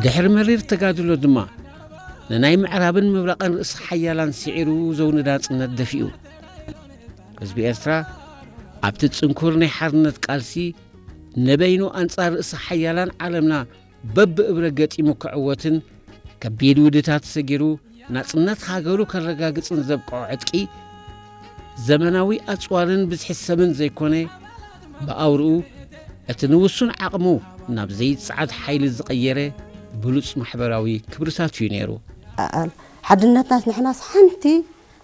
ድሕሪ መሪር ተጋድሎ ድማ ንናይ ምዕራብን ምብራቕን ርእሲ ሓያላን ስዒሩ ዘውንዳ ጽነት ደፊኡ። ህዝቢ ኤርትራ ኣብቲ ጽንኩር ናይ ሓርነት ቃልሲ ንበይኑ ኣንጻር ርእሲ ሓያላን ዓለምና በብእብረ ገጢሙ ክዕወትን ከቢድ ውድታት ሰጊሩ ናጽነት ሃገሩ ከረጋግጽን ዘብቅዖ ዕጥቂ ዘመናዊ ኣጽዋርን ብዝሒ ሰብን ዘይኮነ፣ ብኣውርኡ እቲ ንውሱን ዓቕሙ ናብ ዘይጸዓድ ሓይሊ ዝቐየረ ብሉጽ ማሕበራዊ ክብርታት እዩ ነይሩ። ኣል ሓድነትናስ ንሕናስ ሓንቲ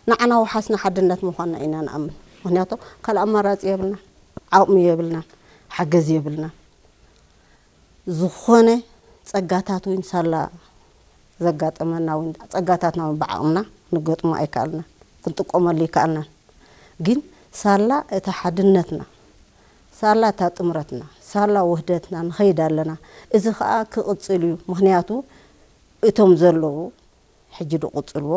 ንዓና ወሓስና ሓድነት ምዃንና ኢና ንኣምን። ምክንያቱ ካልእ ኣማራጺ የብልና፣ ዓቕሚ የብልና፣ ሓገዝ የብልና። ዝኾነ ጸጋታት እውን ሳላ ዘጋጠመና እውን ጸጋታትና እውን ብዓቕምና ንገጥሞ ኣይከኣልና፣ ክንጥቀመሉ ይከኣልና። ግን ሳላ እቲ ሓድነትና፣ ሳላ እታ ጥምረትና፣ ሳላ ውህደትና ንኸይድ ኣለና። እዚ ኸኣ ክቕጽል እዩ። ምኽንያቱ እቶም ዘለዉ ሕጂ ድቕጽልዎ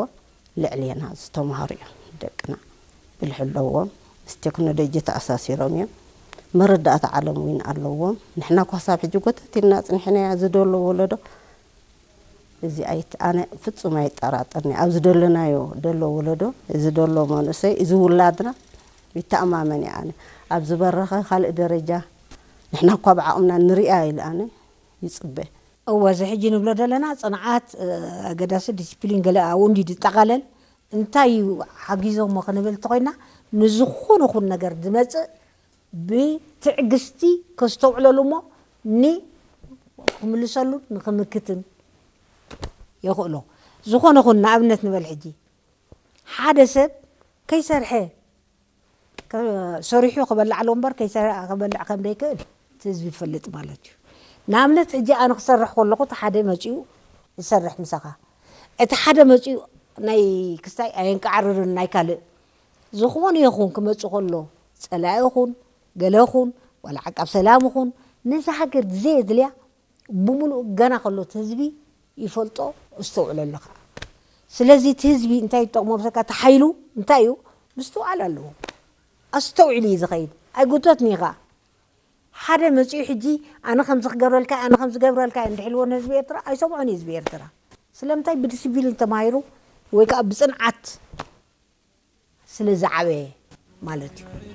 ልዕሌና ዝተምሃሩ እዮም። ደቅና ብልሒ ኣለዎም፣ ምስ ቴክኖሎጂ ተኣሳሲሮም እዮም። መረዳእታ ዓለም እውን ኣለዎም። ንሕና እኳ ሳብ ሕጂ ጎተት ኢልና ጽኒሕናያ ዝደሎ ወለዶ እዚ ኣይት-፣ ኣነ ፍጹም ኣይጠራጠርኒ። ኣብዚ ደለናዮ ደሎ ወለዶ፣ እዚ ደሎ መንእሰይ፣ እዚ ውላድና ይተኣማመን እየ ኣነ። ኣብ ዝበረኸ ካልእ ደረጃ ንሕና እኳ ብዓቕምና ንሪኣ ኢለ ኣነ ይጽበ። እወ፣ እዚ ሕጂ ንብሎ ዘለና ጽንዓት፣ እ፣ ኣገዳሲ ዲስፕሊን ገለ ኣብኡ እንዲ ዝጠቓለል እንታይ እዩ ሓጊዞሞ ክንብል እንተኾይና፣ ንዝኾነ ኹን ነገር ዝመጽእ ብትዕግስቲ ከስተውዕለሉ እሞ ኒ-፣ ክምልሰሉን ንክምክትን የኽእሎ። ዝኾነ ኹን ንኣብነት ንበል ሕጂ ሓደ ሰብ ከይሰርሐ ከ-፣ ሰሪሑ ክበልዕ ኣለዎ እምበር ከይሰ-፣ ክበልዕ ከም ዘይክእል እቲ ህዝቢ ይፈልጥ ማለት እዩ። ንኣብነት ሕጂ ኣነ ክሰርሕ ከለኹ እቲ ሓደ መፂኡ ይሰርሕ ምሳኻ። እቲ ሓደ መፂኡ ናይ ክስታይ ኣየንቃዕርርን ናይ ካልእ ዝኾነ ይኹን ክመፅእ ከሎ ፀላኢ ይኹን ገለ ይኹን ዋላ ዓቃብ ሰላም ይኹን ነዛ ሃገር ዘየድልያ ብምሉእ ገና ከሎ እቲ ህዝቢ ይፈልጦ፣ እስተውዕለሉ ከዓ። ስለዚ እቲ ህዝቢ እንታይ ይጠቕሞ ብሰካ እቲ ሓይሉ እንታይ እዩ? ምስትውዓል ኣለዎ። ኣስተውዒሉ እዩ ዝኸይድ። ኣይጉተትኒ ኢኻ። ሓደ መፂኡ ሕጂ ኣነ ከምዚ ክገብረልካ፣ ኣነ ከምዚ ገብረልካ እንድሕልዎ ንህዝቢ ኤርትራ ኣይሰምዖን እዩ ህዝቢ ኤርትራ። ስለምንታይ? ብዲሲፕሊን ተማሂሩ ወይ ከዓ ብፅንዓት ስለ ዝዓበየ ማለት እዩ።